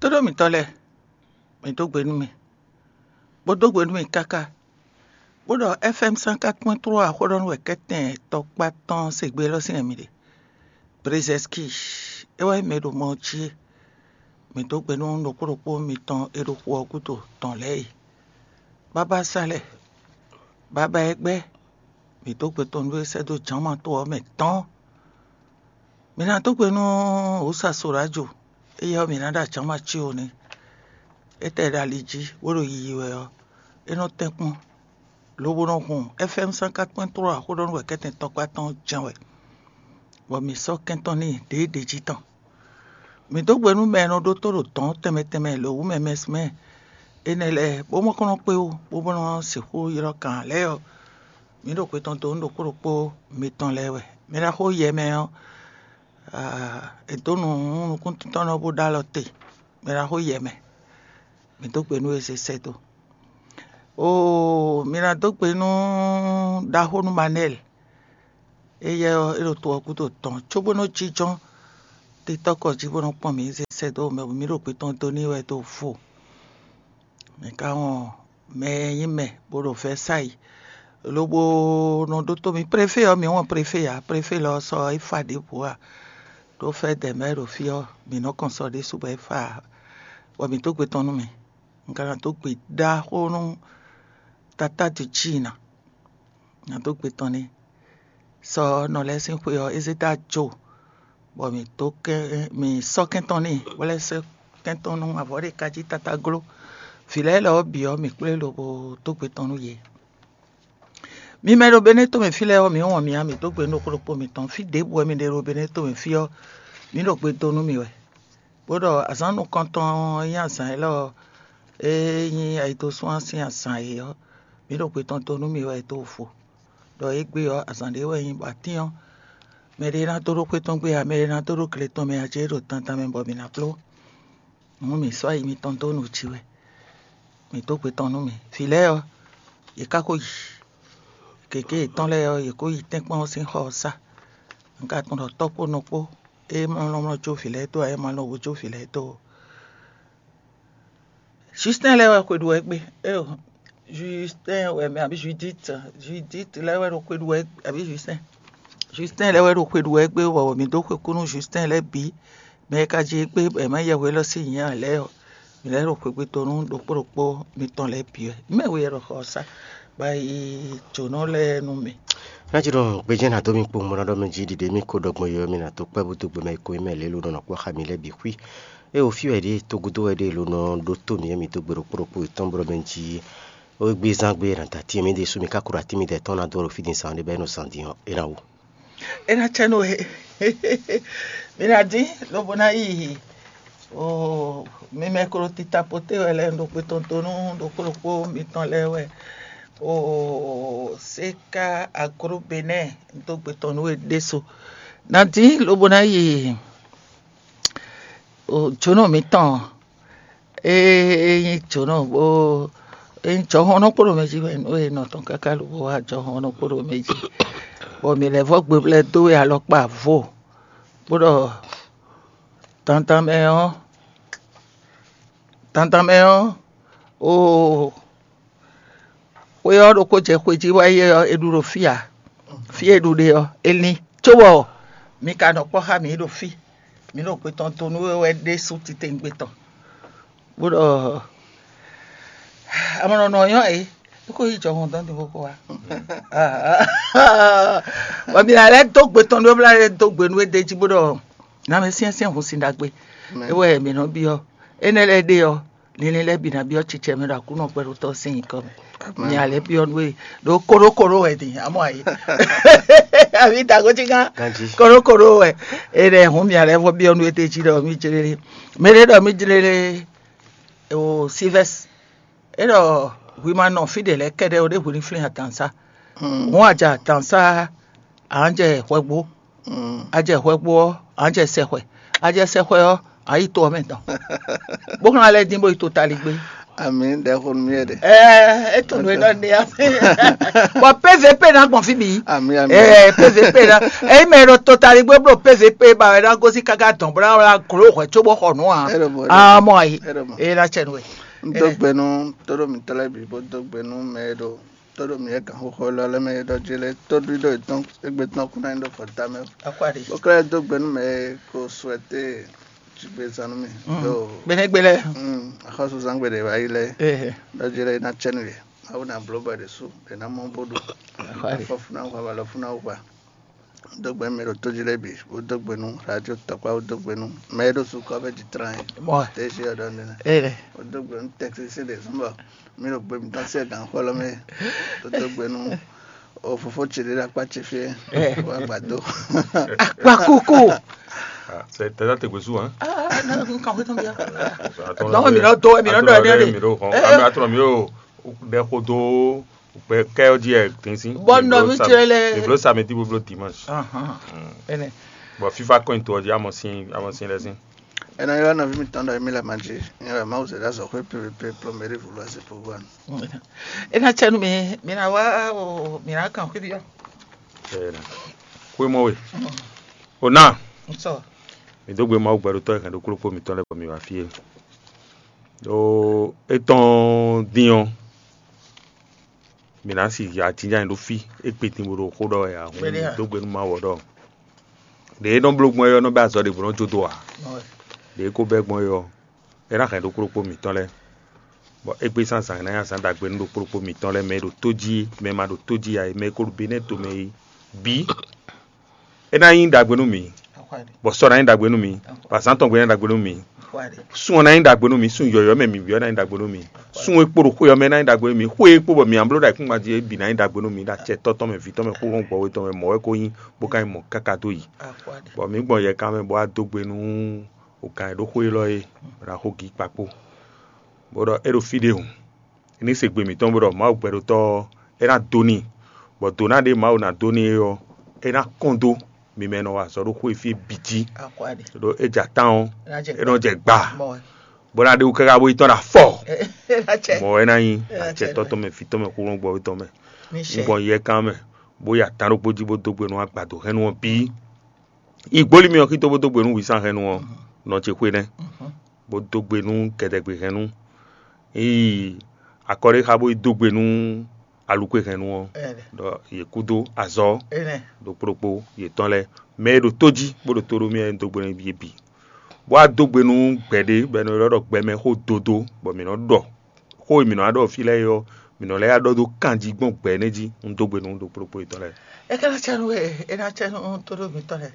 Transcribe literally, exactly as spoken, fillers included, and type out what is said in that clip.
Tóɖó mǐtɔn lɛ́ɛ, mǐ dó gbe nú mì, bó dó gbe nú mì káká, bó ɖɔ F M cent quatre point trois xó ɖɔ nú wɛ kɛ́tɛn tɔkpá tɔn se gbe élɔ́ sín wɛ mì ɖe. Brezɛski, é wɛ nyí mɛ e ɖo mɔ ɔ́ jí é. Mǐ dó gbe nú ɖokpó ɖokpó mitɔn e ɖo xu ɔ́ gúdo tɔn lɛ́ɛ e. Bábá Salɛ, bábá Ɛgbɛ́, mǐ dó gbe tɔn nú é sɛ́ dó jǎnma to ɔ́ mɛ tɔ́n. Mǐ ná dó gbe nú Wǔsa Solájo, éyɛ́ ɔ́, mǐ ná ɖo ajǎnma cí ó nɛ́. Étɛ́ e ɖo ali jí, bó ɖo yiyi wɛ ɔ́, é nɔ tɛ́nkpɔ́n, lobo nɔ hun F M cent quatre point trois xó ɖɔ nú wɛ kɛ́tɛn tɔkpá tɔn jɛ́n wɛ, bɔ mǐ sɔ́ kɛntɔ́ n'i ɖěɖě jí tɔn. Mǐ dó gbe nú mɛ e nɔ ɖótó ɖo dɔ̌n tɛnmɛ tɛnmɛ lǒ wú mɛ mɛsmɛ énɛ́ lɛ́ɛ, bó ma ko nɔ kpé ó, bó bó nɔ sixú ylɔ́ kan ǎ lɛ́ɛ ɔ́, mǐ ɖo xwe tɔn dó nú ɖokpó ɖokpó mitɔn lɛ́ɛ wɛ. Mɛ ɖaxó yɛ mɛ ɔ́, è dǒ nǔ nú nukúntíntɔ́nnɔ bó ɖó alɔ te. Mɛ ɖaxó yɛ mɛ, mǐ dó gbe nú e zé sɛ́ dó. Oo, mi ná dó gbe nú ɖaxó nú Manɛ́ɛli. Éyɛ́ ɔ́, é ɖo to ɔ́ gúdo tɔn, cóbó nɔ́ jínjɔ́n titɔ́kɔ jí bó nɔ́ kpɔ́n mǐ zé sɛ́ dó mɛ, mǐ ɖo gbe tɔn dó n'i wɛ dó vo. Mǐ ka wɔn mɛ e nyí mɛ bó ɖo Vɛ̌sayi, lobo nɔ ɖótó mì. Préfé ɔ́, mǐ wɔn préfé ǎ. Préfé lɔ ɔ́ sɔ é fa ɖěbǔ ǎ. Ɖó fɛ́ dɛ̌ mɛ ɖo fí ɔ́, mǐ nɔ́ kɔn sɔ ɖésú bɔ é fa ǎ, bɔ mǐ dó gbe tɔn nú mì. Un ka ná dó gbe ɖaxó nú Tatá Ducína. Ná dó gbe tɔn n'i. Sɔ nɔ lɛ́ɛ sín xwe ɔ́, Ezéta jó, bɔ mǐ dó kɛn mǐ sɔ́ kɛn tɔn n'i, bó lɛ́ sɔ́ kɛn tɔn nú avɔ ɖé ka jí tatágló. Vǐ lɛ́ɛ lɔ ɔ́ bǐ ɔ́, mǐ kplé lobo dó gbe tɔn nú yě. Mi mɛ e ɖo Benɛ́to mɛ fí lɛ́ɛ ɔ́, mǐ wɔn mi ǎ, mǐ dó gbe nú ɖokpó ɖokpó mitɔn. Fí ɖěbǔ wɛ mi ɖe ɖo Benɛ́to mɛ fí ɔ́, mǐ ɖo gbe dó nú mi wɛ. Bó ɖɔ azǎn nukɔntɔn e nyí azǎn élɔ́ ɔ́, e nyí ayidosúnwa sín azǎn e ɔ́, mǐ ɖo gbe tɔn dó nú mi wɛ dó vo. Ɖɔ égbé ɔ́, azǎn ɖé wɛ nyí bɔ atín ɔ́, mɛ ɖé ná dó ɖó xwé tɔn gbé ǎ, mɛ ɖé ná dó ɖó gle tɔn mɛ ǎ, jɛ é ɖo dandan mɛ bɔ mǐ ná bló. Hǔn mǐ sɔ́ ayi mitɔn dó nǔ jí wɛ. Mǐ dó gbe tɔn nú mì. Vǐ lɛ́ɛ ɔ́, yě ká ko yi. Gěgé yětɔn lɛ́ɛ ɔ́, yě ko yi tɛ́nkpɔ́n ɔ́ sín xɔ ɔ́ sá. Un ka tunwun ɖɔ tɔ́ kpó nɔ kpó, é ma lɔn mlɔ́ jó vǐ lɛ́ɛ dó ǎ, é ma lɔn wǒ jó vǐ lɛ́ɛ dó ó. Justin lɛ́ɛ wɛ xwe ɖu wɛ gbé. Éyo, Justin wɛ mɛ abǐ Judith, Judith lɛ́ɛ wɛ ɖo xwe ɖu wɛ abǐ Justin. Justin lɛ́ɛ wɛ ɖo xwe ɖu wɛ gbé, bɔ mǐ dó xwe kú nú Justin lɛ́ɛ bǐ. Mɛ e ka jí gbé bɔ è mǎ yɛhwe élɔ́ sín nyǐ ǎ lɛ́ɛ ɔ́, mǐ lɛ́ ɖo xwegbe dó nú ɖokpó ɖokpó mitɔn lɛ́ɛ bǐ wɛ. Mɛ we yɛ ɖo xɔ ɔ́ sá bɔ yi jǒnɔ lɛ́ɛ nú mì. Ná jí ɖɔ gbejɛ́ ná dó mì kpowun bó ná ɖɔ mɛ jí ɖiɖe mì ko ɖɔ gbɔn yɔ mì ná dó kpɛ́ bó dó gbe mɛ ko mɛ lě ló nɔ kpɔ́ xá mi lɛ́ɛ bǐ xwí. É o fí wɛ ɖě tógúdó wɛ ɖě ló nɔ ɖótó mì é mi dó gbe ɖokpó ɖokpó yětɔn bó ɖɔ mɛ jí ó gbé zán gbé ná da tín mì ɖésú mi ká kó ɖo atín mi dɛ tɔn ná dó ɖo fí din zán ɖé bɔ é nɔ zán din ɔ́ é ná wú. É ná cɛ nú he. Mi ná dín lobo ná yi o mi mɛ klo tita poté wɛ lɛ́ɛ ɖo xwe tɔn dó nú ɖokpó ɖokpó mitɔn lɛ́ɛ wɛ o séká agro benɛ́ dó gbe tɔn nú we ɖésú. Ná dín lobo ná yi o jǒnɔ mitɔn ée nyí jǒnɔ bó é nyí jɔhɔn nɔ kpo ɖo mɛ jí wɛ nú e nɔ tɔn káká lobo wá jɔhɔn nɔ kpo ɖo mɛ jí, bɔ mǐ lɛ́ vɔ gbeblɛ́ dó we alɔkpa vo, bó ɖɔ dandan mɛ ɔ́ dandan mɛ ɔ́ oo xwe ɔ́ ɖokpó jɛ xwe jí wá yi ɔ́, è ɖu ɖo fí ǎ. Fí e ɖu ɖe ɔ́, è lin cóbɔ mi ka nɔ kpɔ́ xá mǐ ɖo fí. Mǐ ɖo xwe tɔn to nú we wɛ ɖésú titewungbe tɔn, bó ɖɔ amɔnɔnɔ nyɔ é é kó yi jɔhɔn dɔn din bó kó wa. Bɔ mi lɛ dó gbe tɔn ɖó bla lɛ dó gbe nú é ɖe jí bó ɖɔ nǎ mɛ syɛ́nsyɛ́n hun sin ɖagbe. É wɛ mǐ nɔ byɔ́ énɛ́ lɛ́ɛ ɖe ɔ́, linlin lɛ́ɛ bǐ ná byɔ́ cicɛ mɛ ɖo Aklúnɔ kpɛɖotɔ́ sín nyǐkɔ mɛ. Nya lɛ́ byɔ́ nú we ɖo kóɖókóɖó wɛ din amɔ ayé. Àbí dàgójínká kóɖókóɖó wɛ. È ɖɛ hǔn mia lɛ́ɛ vɔ byɔ́ nú we d'é jí ɖɔ mí jlélé. Mɛ ɖé ɖɔ mí jlélé o Silvɛ́s. É ɖɔ hwi ma nɔ fí ɖě lɛ́ɛ kɛ́ɖɛ́ ó ɖé hwi ní flín adǎnsá. Hǔn a jɛ adǎnsá a nǎ jɛ hwɛgbo. A jɛ hwɛgbo ɔ́, a nǎ jɛ sɛxwɛ. A jɛ sɛxwɛ ɔ́, a yi to ɔ́ mɛ tɔn. Bó xlán lɛ́ɛ dín bó yi to taligbé. Amǐ ɖɛxó nú mì ɖe. Ɛɛ é tunwun é ɖɔ ní amí. Bɔ pé P V P ná gbɔn fí bǐ. Ami, ami. Ɛɛ, P V P ná. Eyi mɛ ɖo totali gbé bló P V P ba wɛ ná gosí káká dɔn bó ná wla glo hwɛ cóbó xɔ nǔ a. Ɛ ɖo mɔ, ɛ ɖo mɔ. Amɔ ayi. Ɛ ɖo mɔ. Eye ná tsɛ nú we. N dó gbe nú tóɖó mǐtɔn lɛ́ɛ bǐ, bó dó gbe nú mɛ e ɖo tóɖó mǐ e gǎnxóxó élɔ́ lɛ́ɛ mɛ e ɖɔ jí lɛ́ɛ, tóɖíɖó yětɔn égbé tɔn kún ná nyí ɖo vɔ̌ da mɛ. Akwáɖi. Bó ka lɛ́ dó gbe nú mɛ e ko suɛté jigbezán nú mì. Mm. Ɖo Gbeɖégbé lɛ́ɛ. Mm, axɔ́súzán gbe ɖě wá yi lɛ́ɛ. Ee. Ɖɔ jí lɛ́ɛ é ná cɛ nú yě. Mawu ná bló bɔ è ɖě sú, è nǎ mɔ bó ɖu. Akwáɖi. Afɔfúnáwuxa, alɔfúnáwuxa. Dó gbe nú mɛ e ɖo tó jí lɛ́ɛ bǐ, bó dó gbe nú radio tɔkpá, bó dó gbe nú mɛ e ɖo sukɔ́ bɛ jí tlán é. Mɔ. Tɛ́sí ɔ́ ɖɔ nɛnɛ. Ee. Bó dó gbe nú tɛkisí ɖě zɔ́n bɔ mí ɖo gbe mǐtɔn sí gǎnxɔlɔ́ mɛ. Bó dó gbe nú o fofó ce ɖé ɖo akpá ce fí é. Ɛ. Wá gbàdó. Akpa kókó. Ah, c'est t'as tes goûts, hein? Ah, non, quand vous tombez. Attends, Donc, mi nɔ dó, mi nɔ dó, attends, mi nɔ mi nɔ hɔn. Eh, ami eh. Attends, mi yo, de kodo, be kɛ o di e tin si. Bon, non, mi tse le. Mi blo samedi, mi blo dimanche. Ahan. Ene. Bon, fifa coin to di amo sin, amo sin le sin. Ena yo na vi mi tando mi la manji. Ni la mau se da so pe pe pe plomeri vulu ase po wan. Ena chenu mi, mi na wa o, mi na kan kwi dio. Ena. Kwi mo we. O na. So. Mi dó gbe Mawu gbɛɖotɔ́ e hɛn ɖokpó ɖokpó mitɔn lɛ́ɛ bɔ mi wá fí é. Ɖó étɔn dín ɔ́, mǐ ná si ajínján nyi ɖó fí, é kpe din bó ɖo xó ɖɔ wɛ ǎ, hǔn Kpɛɖé mǐ ǎ. Dó gbe nú Mawu ɔ́ ɖɔ ɖě e nɔ bló gbɔn é ɔ́ nɔ bɛ́ azɔ̌ ɖěvo nɔ jó dó ǎ. Ɔ́, Ɖě é ko bɛ́ gbɔn é ɔ́, é ná hɛn ɖokpó ɖokpó mǐtɔn lɛ́ɛ, bɔ égbé sín azǎn ná nyí azǎn ɖagbe nú ɖokpó ɖokpó mǐtɔn lɛ́ɛ, mɛ e ɖo tó jí, mɛ e ma ɖo tó jí ǎ é, mɛ e ko ɖo Benɛ́ɛ tomɛ é bǐ. É ná nyí ɖagbe nú mǐ, Akwáɖi. Bɔ sɔ ná nyí ɖagbe nú mǐ, bɔ azǎn tɔn gbe ná nyí ɖagbe nú mǐ. Akwáɖi. Sun ɔ́ ná nyí ɖagbe nú mǐ, sun yɔ̌yɔ́ mɛ mǐ bǐ ɔ́ ná nyí ɖagbe nú mǐ. Sun e kpo ɖo xwé ɔ́ mɛ ná nyí ɖagbe nú mǐ, xwé e kpo bɔ mǐ ǎ bló ɖo ayǐkúngban jí é bǐ ná nyí ɖagbe nú mǐ, ɖo acɛ tɔ́ tɔn mɛ, vǐ tɔn mɛ, xúxɔ́n gbɔwé tɔn mɛ, mɔ̌ wɛ ko nyí, bó ka nyí mɔ̌ káká dó yi. Akwáɖi. Bɔ mǐ gbɔn yɛ kan mɛ bó wá dó gbe nú gǎn e ɖó xwé élɔ́ é, bó ná xo gǐ kpakpó. Bó ɖɔ é ɖo fí ɖé hǔn, é ní se gbe mǐtɔn bó ɖɔ Mawu gbɛɖotɔ́ ɔ́, é ná dó n'i, bɔ dǒ ná ɖe Mawu ná dó n'i é ɔ́, é ná kɔn dó mi mɛ e nɔ wa azɔ̌ ɖo xwé fí e bǐ jí. Akwáɖi. Ɖó é jɛ atán ɔ́, É ná jɛ é nɔ jɛ gba, Mɔ wɛ. Bó ná ɖe wú káká bó yi tɔ́n ɖo afɔ. É ná jɛ. Mɔ̌ wɛ ná nyí É ná jɛ acɛtɔ́ tɔn mɛ, vǐ tɔn mɛ, xúxɔ́n gbɔwé tɔn mɛ. Mi Un ṣe. Gbɔn yɛ kan mɛ, bó yi atán ɖokpó jí bó dó gbe nú agbado hɛn nú ɔ́ bǐ. Yi gbólí mì ɔ́ xító bó dó gbe nú wǐsánhɛnnú ɔ́, nɔ ce xwé nɛ́, bó dó gbe nú gɛdɛgbehɛnnú. Yi akɔ́ɖéxa bó yi dó gbe nú alukwe hɛn nu ɔ́, Ɛnɛ. Ɖɔ yě kúdó azɔ̌ Ɛnɛ. Ɖokpó ɖokpó yětɔn lɛ́ɛ, mɛ e ɖo tó jí bó ɖo tó ɖó mì wɛ un dó gbe nú yě bǐ. Bó wá dó gbe nú gbɛ̌ ɖé, bɔ è nɔ ylɔ́ ɖɔ gbɛmɛ xó dodo, bɔ mǐ nɔ ɖɔ xó e mǐ nɔ wá ɖɔ fí lɛ́ɛ é ɔ́, mǐ nɔ lɛ́ wá ɖɔ dó kanjí gbɔn gbɛ̌ énɛ́ jí, un dó gbe nú ɖokpó ɖokpó yětɔn lɛ́ɛ. É ka ná cɛ nú we, é ná cɛ nú tóɖó mǐtɔn lɛ́ɛ.